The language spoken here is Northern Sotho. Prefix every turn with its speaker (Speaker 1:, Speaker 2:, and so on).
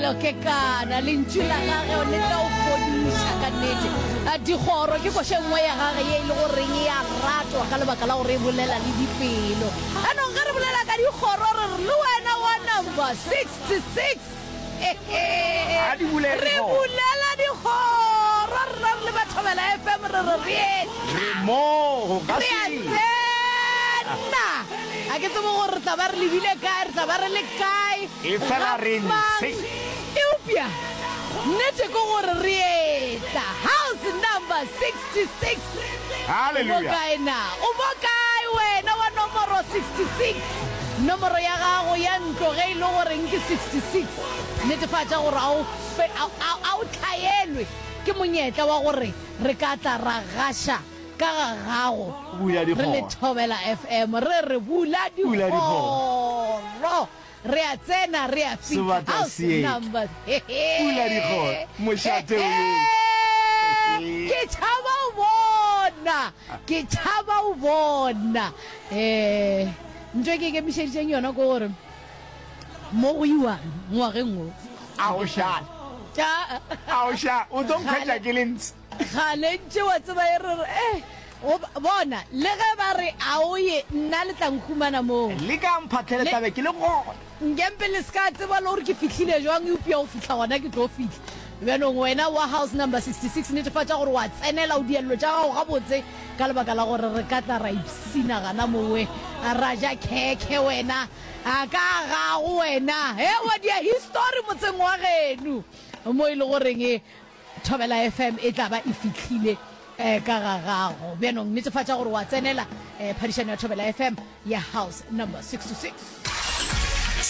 Speaker 1: Tumelo Kekana, lentšu la gage le tla o fodiša ka nnete. Dikgoro ke koša e nngwe ya gage ye e le goreng e a ratwa ka lebaka la gore e bolela le dipelo. Anong ge re bolela ka dikgoro re re le wena wa number 66
Speaker 2: A di bulele
Speaker 1: re
Speaker 2: dikgoro.
Speaker 1: bulela dikgoro rena re le ba Thobela FM re re re etla.
Speaker 2: Re mo go ka
Speaker 1: Re a
Speaker 2: se.
Speaker 1: tsena. A ke tsebe gore re tla ba re lebile kae, re tla ba re le kae,
Speaker 2: Efela
Speaker 1: ga
Speaker 2: re
Speaker 1: mang.
Speaker 2: ntshe.
Speaker 1: Eupša nnete ke gore re etla. House number 66. O mo
Speaker 2: Hallelujah.
Speaker 1: kae na? O mo kae wena wa nomoro 66? Nomoro ya gago ya ntlo ge e le goreng ke 66, netefatša gore a o fe, a, a, a o hlaelwe ke monyetla wa gore re ka tla ra gaša ka ga gago.
Speaker 2: Bula
Speaker 1: Re le
Speaker 2: dikgoro.
Speaker 1: Thobela FM re re bula
Speaker 2: Bula dikgoro.
Speaker 1: dikgoro. Re a tsena, re a fihla.
Speaker 2: Sebata
Speaker 1: House
Speaker 2: se etla.
Speaker 1: number.
Speaker 2: Bula dikgoro. Mošate o etla.
Speaker 1: Ke tšhaba o bona. Ke tšhaba o bona. Eh, ntho e ke ikemišeditšeng yona ke gore mo go iwang ngwageng wo.
Speaker 2: A o šale.
Speaker 1: A
Speaker 2: A o šale. O tlo nkhwetša ke le ntshe.
Speaker 1: Kgale ntše wa tseba e re re, eh, go, bona, le ge ba re a o ye, nna le tla nkhumana moo.
Speaker 2: Le ka mphahlele
Speaker 1: Le,
Speaker 2: tla be ke le gona.
Speaker 1: Nkempe le se ka tseba le gore ke fihlile jwang, eupša go fihla gona ke tlo fihla. Bjanong wena wa house number 66, netefatša gore wa tsenela, o diello tša gago gabotse, ka lebaka la gore re ka tla ra ipshina gana mowe, ra ja khekhe wena, a ka gago wena, he, wa dia histori motseng wa geno, mo e le goreng Thobela FM e tla ba e fihlile ka ga gago. Bjanong netefatša gore wa tsenela phadišano ya Thobela FM ya House Number 66.